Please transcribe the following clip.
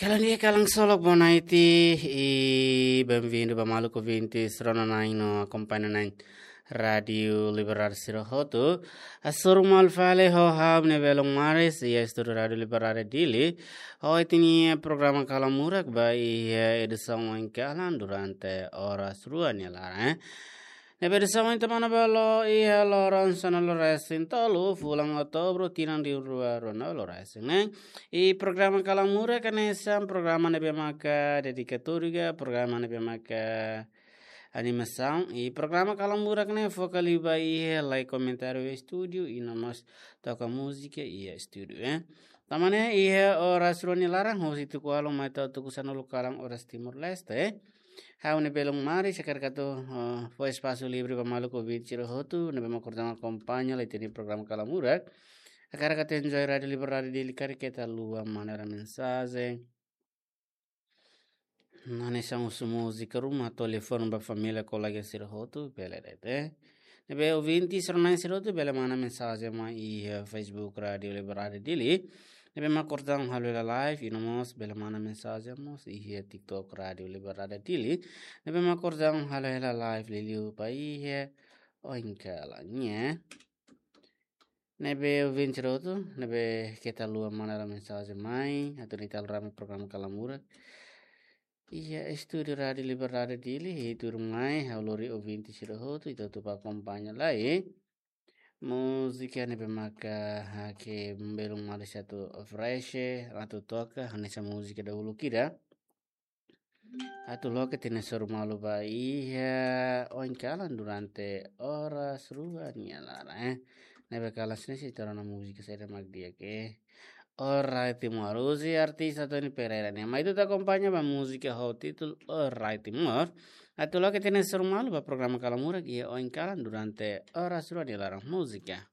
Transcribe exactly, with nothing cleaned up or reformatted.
Halo, nia kalan solok, boa noite i bem-vindo ba maluk ouvintes rona-na'in no akompaña na'in Rádiu Liberdade sira hotu. Hasoru malu fali ho ha'u-nia belun maris iha estúdiu Rádiu Liberdade Dili. Ohin ita-nia programa Kalan Murak ba iha edisaun oin kalan durante oras rua nia laran, eh. Ne'ebé edisaun ohin ita manán ba lo iha loron sanulu-resin-tolu fulan Outubru tinan rihun rua ruanulu-resin ne'e. I programa Kalan Murak hanesan programa ne'ebé maka dedikatóriu ka, programa ne'ebé maka animasaun. I programa Kalan Murak ne'e foka liu ba iha lai komentáriu estúdiu i no mós toka múzika iha estúdiu, eh. Tanba ne'e iha oras rua nia laran, hosi tuku ualu mai to'o tuku sanulu kalan oras Timor-Leste, eh. Ha'u-nia belun maris hakarak atu, eh, fó espasu livre ba maluk ouvinte sira hotu ne'ebé mak kordang akompaña lai ita-nia programa Kalan Murak. Hakarak atu enjoy Rádiu Liberdade Dili karik keta haluha manda mensajen. Hanesan husu múzika ruma, telefone ba família, kolega sira hotu, bele de'it, eh. Ne'ebé ouvinte sira-na'in sira hotu bele manda mensajen mai iha Facebook Rádiu Liberdade Dili. Ne'ebé mak kordang halo hela live, i no mós bele manda mensajen mós iha TikTok Rádiu Liberdade Dili. Ne'ebé mak kordang halo hela live liuliu ba iha oin kalan ne'e. Ne'ebé ouvinte sira hotu ne'ebé keta haluha manda mensajen mai, atu nune'e ita halo rame programa Kalan Murak iha estúdiu Rádiu Liberdade Dili, i tuirmai ha'u lori ouvinte sira hotu, ita hotu bá akompaña lai múzika ne'ebé maka hanesan belun maris atu oferese, atu toka, hanesan múzika dahuluk ida. Atu loke ita-nia hasoru malu ba iha oin kalan durante oras rua nia laran, eh. Ne'ebé kalan sira-ne'e sei ita rona múzika saida mak di'ak, eh. Orai Timor, husi artis Tony Pereira nian. Mai ita akompaña ba múzika ho títulu Orai Timor. Atu loke ita-nia hasoru malu ba programa Kalan Murak iha oin kalan durante oras rua nia laran, múzika.